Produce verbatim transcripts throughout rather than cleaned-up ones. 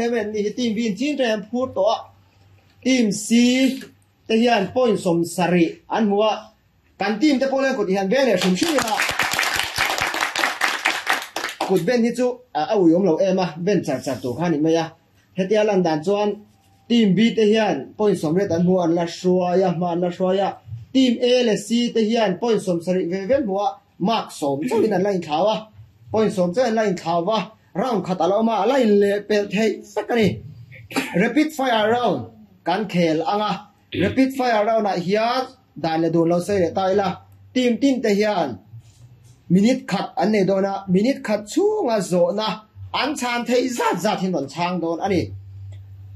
hle men ni hi team B in chin ṭan phur tawh a team C te hian point sawm sarih an hmu a kan team te pawh hian kut hian beng leh hrim hrim ila kut ben hi chu a ui awm lo em a ben char char tur kha ni mai a hetia lan dan chuan team B te hian point sawm riat an hmu an la hruai a hma an la hruai a team A leh C te hian point sawm sarih ve ve hmu a mark sawm chauhin an la inthlau a point sawm chauhin an la inthlau a round khat a lo awm a a la in leh pelh theih vek a ni rapid fire round kan khel anga rapid fire round ah hian dan leh dun lo sei leh ta ila team tin te hian minute khat an nei dawn a minute khat chhunga zawhna an chhan theih zat zat hin rawn chhang dawn a ni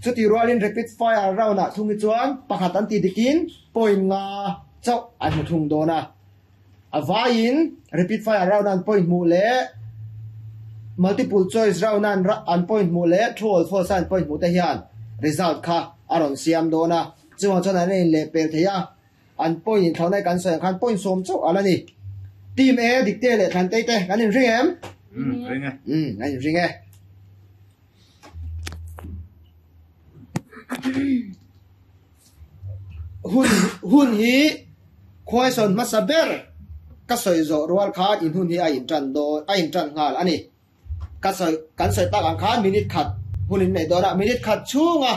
chuti rualin rapid fire round ah thung hi chuan pakhat an ti dikin point nga chauh an hmu thung dawn a a vaiin rapid fire round an point hmuh leh multiple choice round an an point hmuh leh true or false an point hmuh te hian result kha a rawn siam dawn a chuang chuan an in leh pel thei a an point in thlauhnai kan sawi ang khan point sawm chauh ala ni team A dikte leh thlan te te kan in ring em Mm, ring e. um kan in ring e hun hun hi question hmasa ber ka sawi zawh rual khan in hun hi a in tan dawn a in tan nghal ani ka sawi kan sawi tak ang khan minute khat hun in nei dawn a minute khat chhunga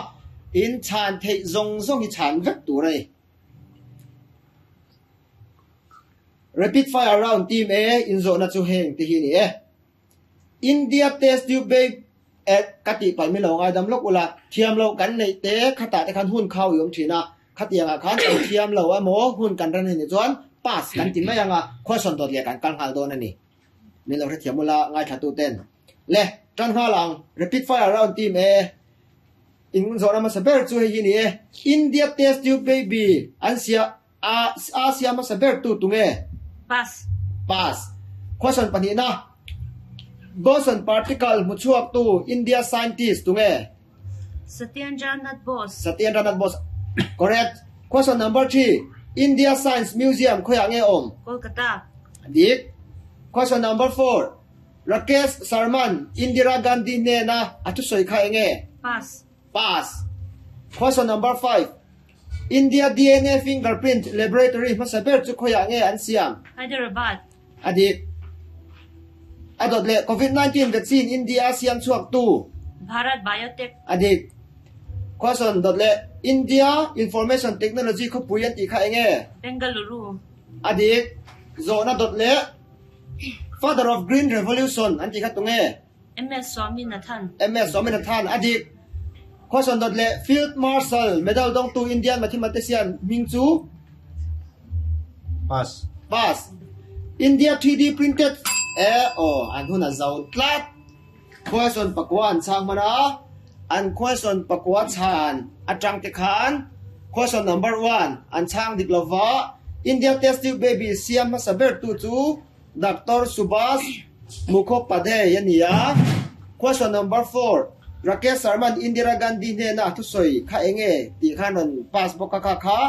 in chhan theih zawng zawng hi chhan vek tur a ni rapid fire round team A in zawhna chu heng te hi ni e India test tube baby e ka ti pai mi lo ngai dam lok ula thiam lo kan nei te khata te khan hun khau i awm thin a khatianga khan kan thiam lo emaw hun kan ran ni chuan pass kan ti mai anga question dot leh kan kal nghal dawn ani min lo hre thiam ula ngai thla tu ten le tan nghal ang rapid fire round team A in zawhna hmasa ber chu hei hi ni e India test tube baby an sia a Asia hmasa ber tu tunge Pass. pass question pahnih na boson particle hmu chhuak tu India scientist tunge Satyendranath Bose. Satyendranath Bose correct question number three India Science Museum khoya nge awm Kolkata. dik question number four Rakesh Sharman Indira Gandhi nena a thu sawi kha enge Pass. pass question number five India D N A fingerprint laboratory hmasa ber chu khoya nge an siam Hyderabad. adik adot le COVID nineteen vaccine India siam chuak tu Bharat Biotech. adik question dot le India Information Technology kho puian ti kha enge Bengaluru. adik zona dot le Father of Green Revolution an ti kha tunge M S Swaminathan. M S Swaminathan adik question dot le Field Marshal medal dong tu Indian mathematician Mingchu Pass. pass India three D printed e o an huna zau tlat question pakwan chang mana an question pakwa chan atang te khan question number one an chang dik lova India test tube baby siam ma saber tu chu Doctor Subhas Mukhopadhyay ania question number four Rakesh Sharman Indira Gandhi ne na thu soi kha enge ti khan on pass boka kha kha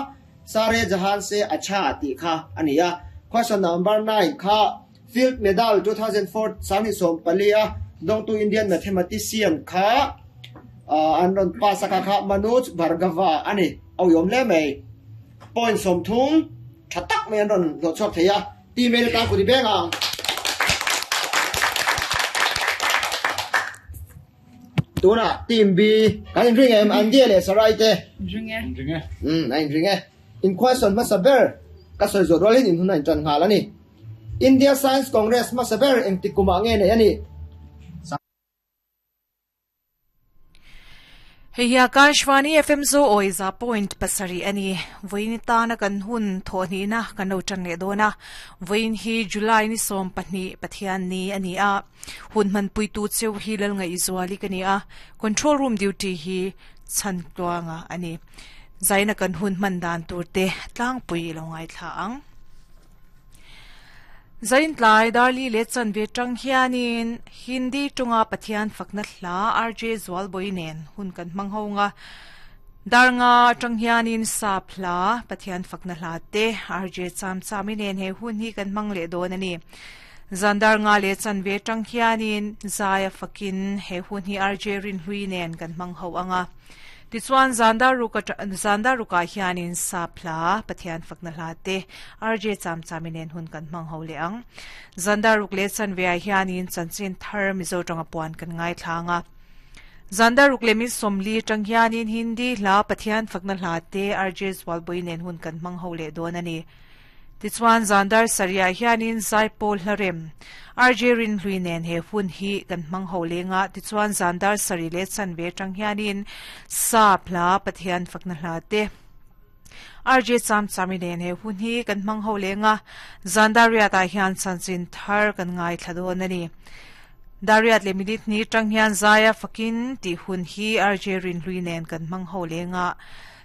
sare jahan se acha ti kha ania question number nine kha Field Medal two thousand four sangni som palia dong tu Indian mathematician kha an ron pass kha kha Manoj Bhargava ani au yom le mai point som thung thatak mai an ron lo chok theya ti me ta ku di beng ang tuna team B kan in ring em an dia le sarai te Ring e. Ring e. um an ring e in question ma saber ka soi zo rolin in hunan chan ngal ani India Science Congress ma saber eng tikuma nge ne ani Hei Akashvani F M zo oiza point pasari ani voin ta na kan hun thoni na kan lo chan le dona voin hi July ni som pahni Pathian ni ani a hun man pui tu cheu hi lal ngai izwali kani a control room duty hi chan tuanga ani zaina kan hun man dan tur te tlang pui lo ngai thla ang Zain tlai darli le chan ve tang hianin Hindi tunga Pathian fakna hla R J Zwal boinen hun kan mang honga darnga tang hianin sap hla Pathian fakna hla te R J cham chaminen he hun hi kan mang le don ani Zandar nga le chanve tang hianin zaya fakin he hun hi R J rin hui nen kan mang ho anga. Tichuan zandar ruka zandar ruka hianin sapla pathian fakna hla te R J cham chaminen hun kan mang ho le ang. Zandar ruk le chanve hianin chanchin thar mizo tanga puan kan ngai thlanga. Zandar ruk le mi somli tang hianin Hindi hla pathian fakna hla te R J zwalboi nen hun kan mang ho le don ani. Tichuan zandar saria hianin zaipol hlarem R J rin hlui nen he hun hi kan mang ho lenga. Tichuan zandar sari le chanve tang hianin sa phla pathian fakna hla te R J cham chami nen he hun hi kan mang ho lenga. Zandar ria ta hian chanchin thar kan ngai thladon ani. Dariat le minute ni tang hian zaya fakin ti hun hi R J rin hlui nen kan mang ho lenga.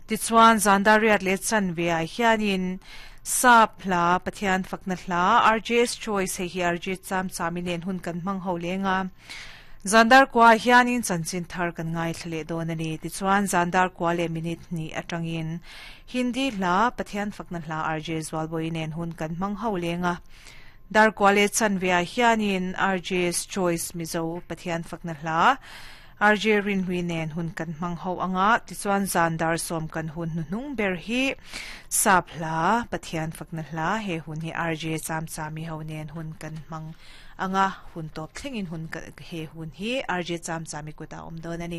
Tichuan zandariat le chanve a hianin sa phla pathian fakna hla R J's choice he hi R J cham chaminen hun kan mang ho lenga. Zandar kwa hianin chanchin thar kan ngai thle don ani. Tichuan zandar kwa le minute ni atangin Hindi hla pathian fakna hla R J zwalboi nen hun kan mang ho lenga. Dar kwa le chanve hianin R J's choice mizo pathian fakna hla R J rin hui nen hun kan mang ho anga. Tichuan zandar som kan hun nung ber hi sapla pathian fakna hla he hun hi R J cham chami ho nen hun kan mang anga. Hun top thlengin hun he hun hi R J cham chami kuta om don ani.